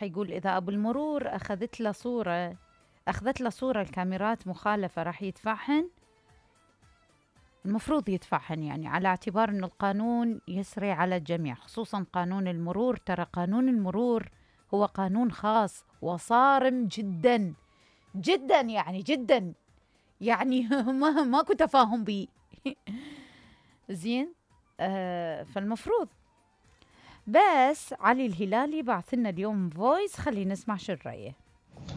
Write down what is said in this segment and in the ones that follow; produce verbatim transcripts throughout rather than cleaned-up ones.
يقول إذا أبو المرور أخذت له صورة أخذت له صورة الكاميرات مخالفة راح يدفعهن. المفروض يدفعهن يعني على اعتبار أن القانون يسري على الجميع، خصوصا قانون المرور. ترى قانون المرور هو قانون خاص وصارم جدا جدا، يعني جدا، يعني ما ماكو تفاهم به. زين. آه فالمفروض بس علي الهلالي بعث لنا اليوم فويس، خلينا نسمع شو رأيه.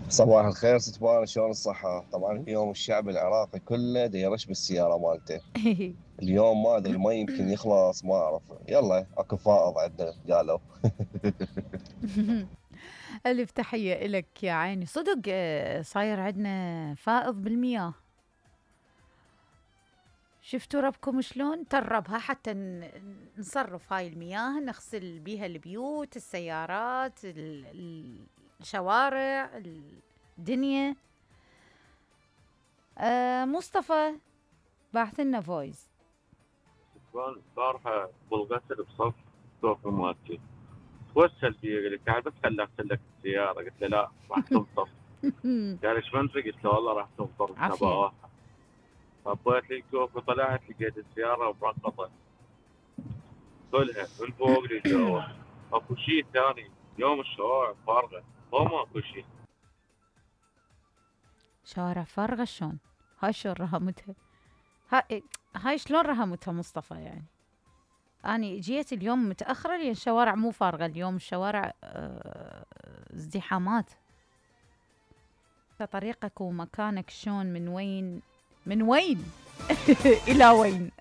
صباح الخير ستبان، شلون الصحة؟ طبعا اليوم الشعب العراقي كله دا يرش بالسيارة مالته. اليوم ما ادري المي يمكن يخلص، ما اعرف. يلا اكو فائض عندنا قالوا. ألف تحية إلك يا عيني. صدق آه، صاير عندنا فائض بالمياه. شفتوا ربكم شلون تربها حتى ن- نصرف هاي المياه، نغسل بيها البيوت، السيارات، ال- ال- الشوارع، الدنيا. آه مصطفى بعث لنا فويس. كان البارحة بالغسل بصف توفي مالتي توسل بي، قال لي تعال بس خلي اغسل لك السيارة. قلت له لا راح تنطر. قال ايش منطق؟ قلت له والله راح تنطر عافية. نبغاها. طبيت لي الكوف وطلعت لقيت السيارة مرقطة كلها من فوق لجوا. اكو شيء ثاني، يوم الشوارع فارغة، هو ماكو شيء. شوارع فارغة شلون؟ هاي شلون رهمتها؟ هاي هاي شلون رهمتها مصطفى يعني؟ أنا جيت اليوم متأخرة لأن الشوارع مو فارغة اليوم، الشوارع آه، ازدحامات. طريقك ومكانك شلون، من وين من وين إلى وين؟